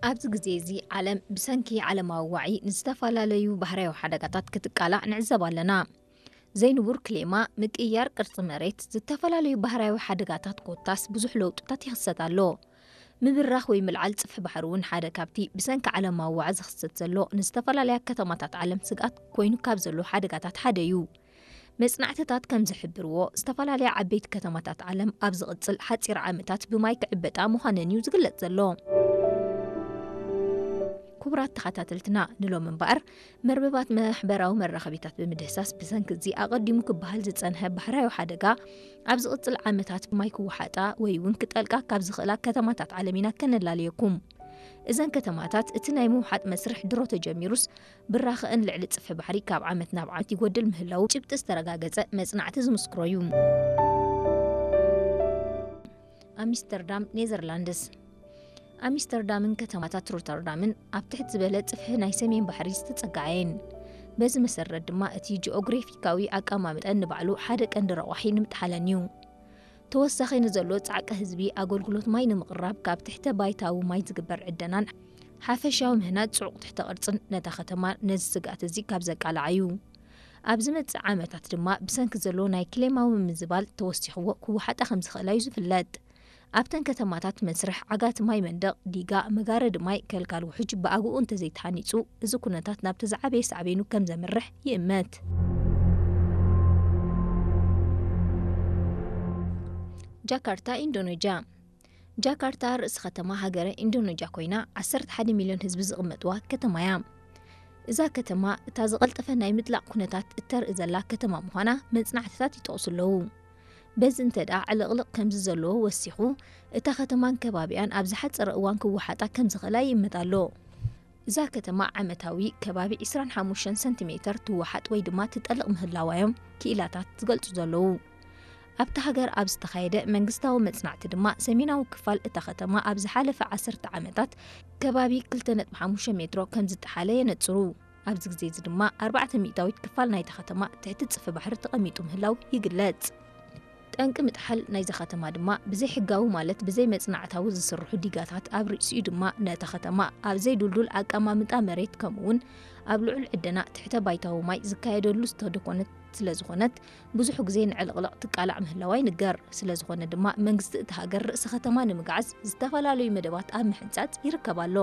ኣብዚ ግዜ እዚ ዓለም ብሰንኪ ዓለማዊ ዋዒ ንዝተፈላለዩ ባህርያዊ ሓደጋታት ክትቃላዕ ንዕዘብ ኣለና። ዘይንቡር ክሌማ፣ ምቅይያር ቅርጺ መሬት፣ ዝተፈላለዩ ባህርያዊ ሓደጋታት ኮታስ ብዙሕ ለውጥታት ይኽሰት ኣሎ። ምብራኽ ወይ ምልዓል ጽፍሒ ባሕሪ እውን ሓደ ካብቲ ብሰንኪ ዓለማዊ ዋዒ ዝኽሰት ዘሎ ንዝተፈላለያ ከተማታት ዓለም ስግኣት ኮይኑ ካብ ዘሎ ሓደጋታት ሓደ እዩ። መጽናዕትታት ከም ዝሕብርዎ፣ ዝተፈላለያ ዓበይቲ ከተማታት ዓለም ኣብ ዝቕጽል ሓጺር ዓመታት ብማይ ክዕበጣ ምዃነን እዩ ዝግለጽ ዘሎ። ክቡራት ተኸታተልትና፣ ንሎም እምበኣር መርበባት ማሕበራዊ መራኸቢታት ብምድህሳስ ብሰንኪ እዚ ኣቐዲሙ ክበሃል ዝጸንሐ ባህርያዊ ሓደጋ ኣብ ዝቕጽል ዓመታት ብማይ ክወሓጣ ወይ እውን ክጠልቃ ካብ ዝኽእላ ከተማታት ዓለም ኢና ከነላልየኩም። እዘን ከተማታት እቲ ናይ ምውሓጥ መስርሕ ድሮ ተጀሚሩስ ብራኸአን ልዕሊ ጽፍሒ ባሕሪ ካብ ዓመት ናብ ዓመት ይጎድል ምህላዉ ጭብጢ ዝተረጋገጸ መጽናዕቲ ዝምስክሮ እዩ። ኣምስተርዳም፣ ኔዘርላንድስ። ኣምስተርዳምን ከተማታት ሮተርዳምን ኣብ ትሕት ዝበለ ጽፍሒ ናይ ሰሜን ባሕሪ ዝተጸግዓ እየን። በዚ መሰረት ድማ እቲ ጂኦግራፊካዊ ኣቀማምጠን ንባዕሉ ሓደ ቀንዲ ረቋሒ ንምጥሓለን እዩ። ተወሳኺ ንዘሎ ጻዕቂ ህዝቢ ኣገልግሎት ማይ ንምቕራብ ካብ ትሕተ ባይታዊ ማይ ዝግበር ዕደናን ሓፈሻዊ ምህናጽ ጽዑቕ ትሕተ ቅርጽን ነታ ከተማ ነዚ ስግኣት እዚ ካብ ዘቃልዓ እዩ። ኣብ ዝመጽእ ዓመታት ድማ ብሰንኪ ዘሎ ናይ ክሌማዊ ምምዝባል ተወሲኽዎ ክወሓጣ ከም ዝኽእላ እዩ ዝፍለጥ። ኣብተን ከተማታት መስርሕ ዓጋቲ ማይ መንደቕ፣ ዲጋ፣ መጋረዲ ማይ፣ ከልካል ውሑጅ ብኣግኡ እንተዘይተሃኒጹ፣ እዚ ኩነታት ናብቲ ዝዓበየ ሳዕቤኑ ከም ዘምርሕ ይእመት። ጃካርታ፣ ኢንዶኔዥያ። ጃካርታ ርእሲ ከተማ ሃገረ ኢንዶኔዥያ ኮይና፣ ዓሰርተ ሓደ ሚልዮን ህዝቢ ዝቕመጥዋ ከተማ እያ። እዛ ከተማ እታ ዝቐልጠፈ ናይ ምጥላቕ ኩነታት እተርኢ ዘላ ከተማ ምዃና መጽናዕትታት ይጠቕሱ ኣለዉ። በዚ እንተ ደኣ ዕልቕልቕ ከምዚ ዘለዎ ወሲኹ፣ እታ ከተማን ከባቢኣን ኣብ ዝሓጸረ እዋን ክወሓጣ ከም ዝኽእላ ይእመት ኣሎ። እዛ ከተማ ዓመታዊ ከባቢ ዕስራን ሓሙሽተን ሰንቲሜተር ትወሓጥ ወይ ድማ ትጠልቕ ምህላዋ እዮም ክኢላታት ዝገልጹ ዘለዉ። ኣብታ ሃገር ኣብ ዝተኻየደ መንግስታዊ መጽናዕቲ ድማ፣ ሰሜናዊ ክፋል እታ ከተማ ኣብ ዝሓለፈ ዓሰርተ ዓመታት ከባቢ ክልተ ነጥቢ ሓሙሽተ ሜትሮ ከም ዝጠሓለ የነጽሩ። ኣብዚ ግዜ እዚ ድማ ኣርባዕተ ሚእታዊት ክፋል ናይታ ከተማ ትሕቲ ጽፍሒ ባሕሪ ተቐሚጡ ምህላው ይግለጽ። ጠንቂ ምጥሓል ናይዛ ከተማ ድማ ብዘይሕጋዊ፣ ማለት ብዘይ መጽናዕታዊ ዝስርሑ ዲጋታት ኣብ ርእሲኡ ድማ ነታ ከተማ ኣብ ዘይድልዱል ኣቀማምጣ መሬት፣ ከምኡውን ኣብ ልዑል ዕደና ትሕተ ባይታዊ ማይ ዝካየደሉ ዝተደኮነት ስለ ዝኾነት፣ ብዙሕ ግዜ ንዕልቕልቕ ትቃላዕ ምህላዋ ይንገር። ስለ ዝኾነ ድማ መንግስቲ እቲ ሃገር ርእሲ ከተማ ንምግዓዝ ዝተፈላለዩ መደባት ኣብ ምሕንጻጽ ይርከብ ኣሎ።